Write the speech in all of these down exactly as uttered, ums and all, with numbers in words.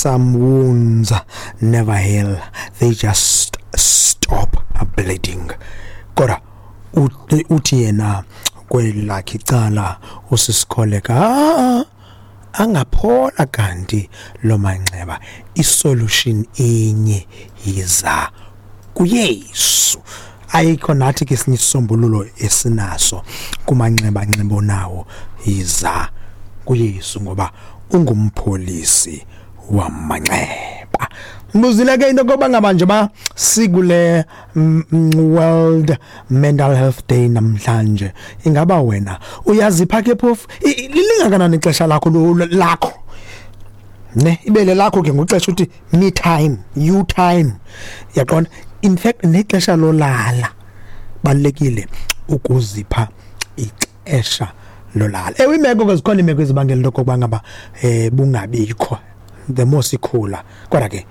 Some wounds never heal, they just stop bleeding. Kodwa uthi yena kwelakhe icala usisikholeka, ah, angaphola kanti lo manxeba, isolution inye, yiza kuYesu. Ayikho nathi ke esinye isisombululo esinaso kumanxeba nxeba nawo, yiza kuYesu ngoba ungumpholisi wamanxeba. Mbuzile ke into koba ngaba nje ba sikule World Mental Health Day namhlanje, ingaba wena uyazipha ke phofu lingakanani ixesha lakho lakho ne ibele lakho ke ngoxesha uthi me time, you time, yaqonda? In fact nexesha lolala balekile ukuzipha ixesha lolala. Ewe, imeko ke zikhona imeko ezibangela into kokuba ngaba eh bungabikho the more sikhula, kodwa ke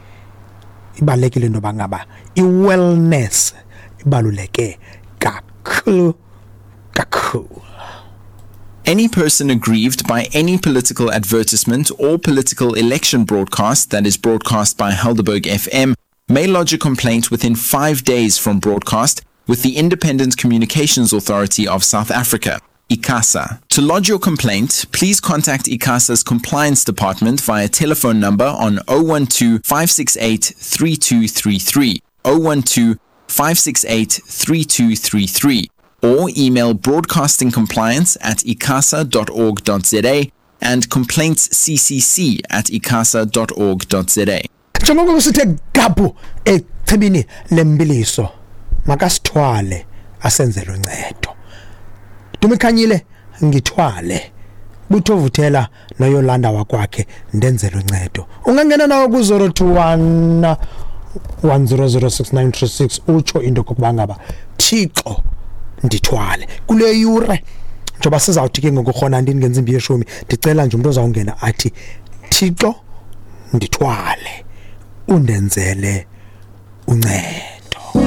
ibalekile into yoba ngaba i-wellness ibaluleke kakhulu kakhulu. Any person aggrieved by any political advertisement or political election broadcast that is broadcast by Helderberg F M may lodge a complaint within five days from broadcast with the Independent Communications Authority of South Africa, ICASA. To lodge your complaint, please contact ICASA's Compliance Department via telephone number on oh one two, five six eight, three two three three, oh one two, five six eight, three two three three, or email broadcastingcompliance at icasa dot org dot z a and complaintsccc at icasa dot org dot z a. Njengoko sithe gabhu echibini lembiliso, makasithwale asenzele uncedo. Dumikhanyile ngithwale, Buthovuthela noYolanda wakwakhe ndenzele uncedo. Ungangena nawo ku zero two one, one zero zero six nine three six utsho into kokuba ngaba Thixo ndithwale kule yure. Njengoba sizawuthi ke ngokurhona ndini ngentsimbi yeshumi, ndicela nje umuntu ozawungena athi Thixo ndithwale undenzele uncedo.